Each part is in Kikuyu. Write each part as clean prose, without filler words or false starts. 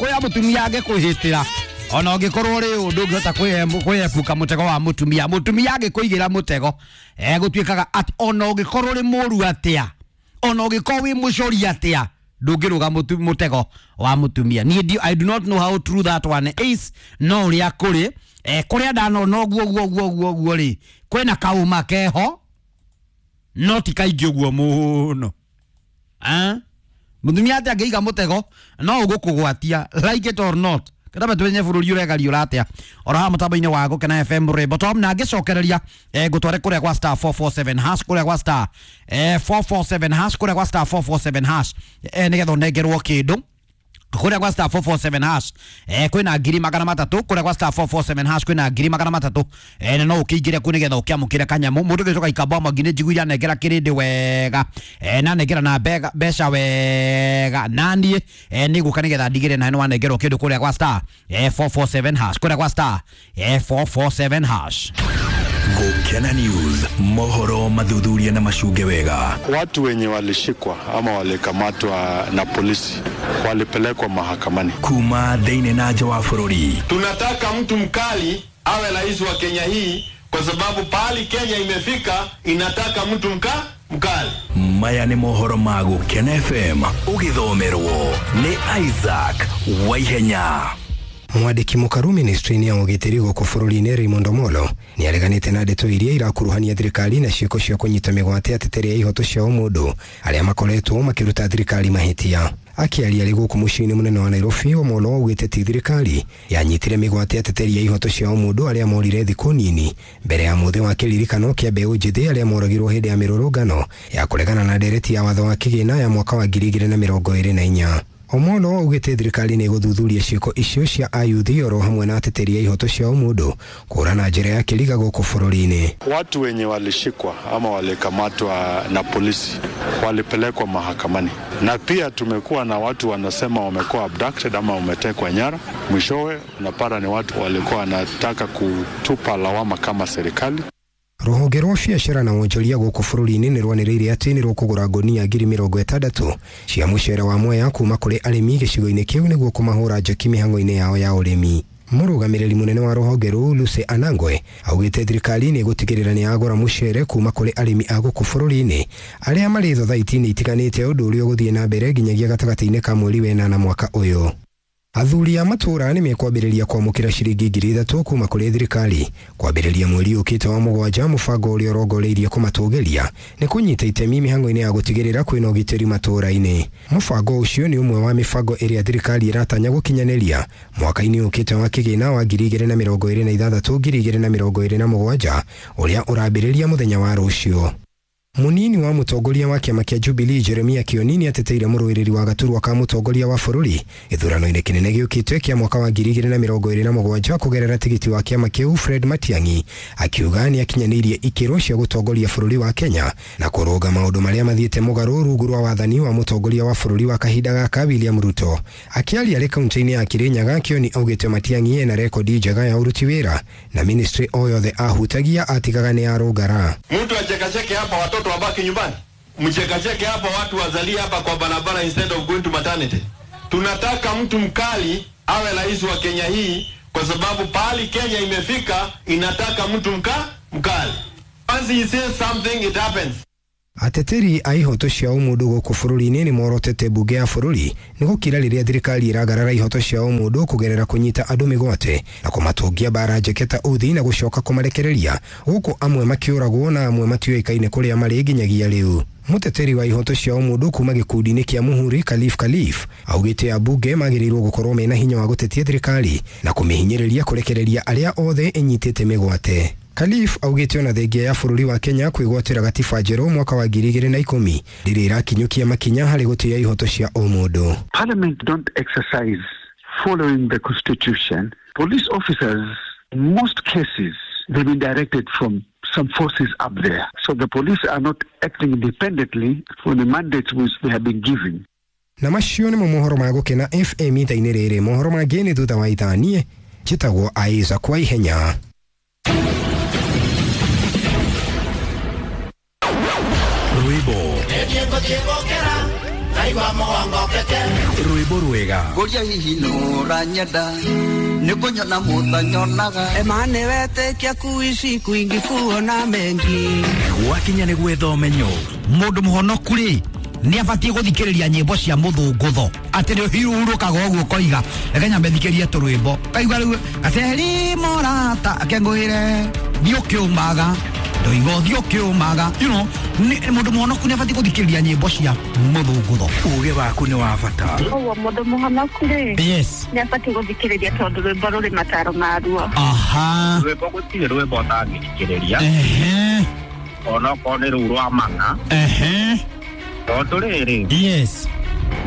Kuria mutumia angĩkwĩhĩtĩra ona ũngĩkorwo rĩ ũndũ ũngĩhota kwĩepuka mũtego wa mũtumia, mũtumia angĩkũigĩra mũtego gũtuĩkaga atĩ ona ũngĩkorwo ũrĩ mũru atĩa, ona ũngĩkorwo wĩ mũcori atĩa, ndũngĩrũga mũtego wa mũtumia. Niĩ I do not know how true that one is, no ũrĩa kũrĩ kũrĩa ndanona ũguo ũguo ũguo ũguo ũguo rĩ, kwĩna kaũma keho no ti kaingĩ ũguo mũno. Mũtumia atĩ angĩiga mũtego no ũgũkũgwatia like it or not. Kada twenye bũrũri ũregariũra atĩa oro haha mũtambo-inĩ wa Gũkena FM Rwĩmbo Top, na ngĩcokereria ngũtware kũrĩa gwa star 447 hash, kũrĩa gwa star 447 hash, kũrĩa gwa star 447 hash nĩgetha ũnengerwo kĩndũ kũrĩa gwa star 447 hash kwĩna 300,000 kũrĩa gwa star 447 hash kwĩna 300,000 na no ũkĩingĩre kũ nĩgetha ũkĩamũkĩre kanyamũ. Mũndũ gĩcoka ikamba mwangi nĩ njiguire anengera kĩrĩndĩ wega na anengera na mbeca wega, na niĩ nĩ gũka nĩgetha ndigĩre na nĩ wanengerwo kĩndũ kũrĩa gwa star 447 hash, kũrĩa gwa star 447 hash. Gũkena News, mohoro mathuthuria na macunge wega. Watu wenye walishikwa ama walikamatwa na polisi walipelekwa mahakamani. Kuma thĩinĩ na nja wa bũrũri. Tunataka mtu mkali awe rais wa Kenya hii kwa sababu pahali Kenya imefika inataka mtu mkali. Maya nĩ mohoro ma Gũkena FM ũgĩthomerwo nĩ Isaac Waihenya. Mwandĩki mũkaru ministry-inĩ ya ũgitĩri gũkũ bũrũri-inĩ Raymond Omolo nĩ areganĩte na ndeto iria irakuruhania thirikari na ciĩko cia kũnyita mĩgwate ateteri a ihoto cia ũmũndũ arĩa makoretwo makĩruta thirikari mahĩtia. Akĩaria arĩ gũkũ mũciĩ-inĩ mũnene wa Nairobi, Omolo augĩte ti thirikari yanyitire mĩgwate ateteri a ihoto cia ũmũndũ arĩa morire thikũ nini mbere ya mũthĩ wa kĩririkano kĩa mbeũ njĩthĩ arĩa moragirwo hĩndĩ ya mĩrũrũngano ya kũregana na ndereti ya watho wa kĩgĩna ya mwaka wa 2024. Omolo augĩte thirikari nĩ ĩgũthuthuria ciĩko icio cia ayuthi oro hamwe na ateteri a ihoto cia ũmũndũ kũra na njĩra ya kĩriga gũkũ bũrũri-inĩ. Watu wenye walishikwa ama walikamatwa na polisi walipelekwa mahakamani, na pia tumekuwa na watu wanasema wamekuwa abducted ama wametekwa nyara. Mwishowe unapata ni watu walikuwa wanataka kutupa lawama kama serikali. Rũhonge rwa biacara na wonjoria gũkũ bũrũri-inĩ nĩ rwanĩrĩire atĩ nĩ rũkũgũra ngũnia 60,000 cia mũcere wa Mwea kuma kũrĩ arĩmi gĩcigo-inĩ kĩu nĩguo kũmahũra njeki mĩhang'o-inĩ yao ya ũrĩmi. Mũrũgamĩrĩri mũnene wa rũhonge rũu Lucy Anangwe augĩte thirikari nĩ ĩgũtigĩrĩra nĩ yagũra mũcere kuma kũrĩ arĩmi a gũkũ bũrũri-inĩ arĩa marĩ thothaiti-inĩ itiganĩte, ũndũ ũrĩa ũgũthiĩ na mbere nginyagia gatagatĩ-inĩ ka mweri wa 8 mwaka ũyũ. Athuri a matũra nĩ mekwambĩrĩria kwamũkĩra ciringi 3,000 kuma kũrĩ thirikari kwambĩrĩria mweri ũkĩte wa 7, mũbango ũrĩa ũrongoreirie kũmatũgĩria nĩ kũnyita itemi mĩhang'o-inĩ ya gũtigĩrĩra kwĩna ũgitĩri matũra-inĩ. Mũbango ũcio nĩ ũmwe wa mĩbango ĩrĩa thirikari ĩratanya gũkinyanĩria mwaka-inĩ ũkĩte wa kĩgĩna wa 2026 2027 ũrĩa ũrambĩrĩria mũthenya wa rũciũ. Munini wa mũtongoria wa kĩama kĩa Jubilee Jeremia Kioni nĩ ateteire mũrũĩrĩri wa gaturwa ka mũtongoria wa bũrũri gĩthurano-inĩ kĩnene gĩũkĩte kĩa mwaka wa 2027 kũgerera tigiti wa kĩama kĩu Fred Matiang'i, akiuga nĩ akinyanĩirie ikĩro cia gũtongoria bũrũri wa Kenya na kũrũnga maũndũ marĩa mathiĩte mũgarũ rungu rwa wathani wa mũtongoria wa bũrũri wa kahinda gaka William Ruto. Akĩaria arĩ kaunti-inĩ ya Kirinyaga, Kioni augĩte Matiang'i ena rekondi njega ya ũruti wĩra na ministry o yothe ahutagia atigaga nĩ arũngara. Mtu achekacheke hapa watoto wabaki nyumbani, mchekacheke hapa watu wazalie hapa kwa barabara instead of going to maternity. Tunataka mtu mkali awe rais wa Kenya hii kwa sababu pahali Kenya imefika inataka mtu mkali. Once he says something it happens. Ateteri a ihoto cia ũmũndũ gũkũ bũrũri-inĩ nĩ morotete mbunge ya bũrũri nĩ gũkira rĩrĩa thirikari ĩragarara ihoto cia ũmũndũ kũgerera kũnyita andũ mĩgwate na kũmatũngia mbara njeke ta uthi na gũcoka kũmarekereria, gũkũ amwe makĩũragwo na amwe matiũĩkaine kũrĩa marĩ nginyagia rĩu. Mũteteri wa ihoto cia ũmũndũ kuma gĩkundi-inĩ kĩa Muhuri Khalif Khalif augĩte ambunge magĩrĩirwo gũkorwo mena hinya wa gũtetia thirikari na kũmĩhinyĩrĩria kũrekereria arĩa othe ĩnyitĩte mĩgwate. Khalif augĩte ona thengia ya bũrũri wa Kenya kwĩgwatĩra gatiba njerũ mwaka wa 2010 ndĩrĩ ĩrakinyũkia makinya harĩ gũtĩĩa ihoto cia ũmũndũ. Parliament don't exercise following the constitution. Police officers in most cases they've been directed from some forces up there. So the police are not acting independently from the mandates which they have been given. Na macio nĩmo mohoro ma Gũkena FM ithaa-inĩ rĩrĩ. Mohoro mangĩ nĩ thutha wa ithaa. Niĩ njĩtagwo Isaac Waihenya. Rwĩmbo. Rwĩmbo rwega. Ngũria hihi nũranyenda nĩ kũnyona mũtanyonaga Emane wetĩkia kuishi kwingi kuona mengi. Gwakinya nĩ gwetha ũmenyo. Mũndũ mũhonoku rĩ nĩ abatiĩ gũthikĩrĩria nyĩmbo cia mũthũngũtho atĩ nĩ ũhurũkaga ũguo ũkoiga reke nyambe thikĩrie tũrwĩmbo kaigua rĩu gaceri morata akengũĩre thiĩ ũkĩũmaga ndoiga ũthiĩ ũkĩũmaga, you know, mũndũ mũhonoku nĩ abatiĩ gũthikĩrĩria nyĩmbo cia mũthũngũtho. Uge waku nĩ wa bata. Ũguo mũndũ mũhonoku rĩ, yes, nĩ abatiĩ gũthikĩrĩria tondũ rwĩmbo rũrĩ mataro maruo. Aha. Rwĩmbo gũtirĩ rwĩmbo ũtangĩthikĩrĩria. Ehe. Onokorwo nĩ rũu rwa mana. Ehe. Tondũ rĩrĩ, yes,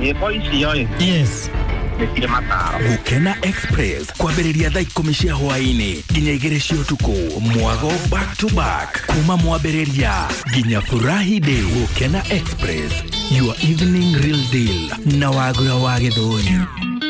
nyĩmbo icio ĩ, yes, nĩ cirĩ mataro. Gũkena Express kwambĩrĩria thaa 10 cia hwaĩ-inĩ nginya 2 cia ũtukũ. Mwago back to back kuma mwambĩrĩria nginya Furahi Day. Gũkena Express, your evening real deal na Wagura wa Gĩthũri.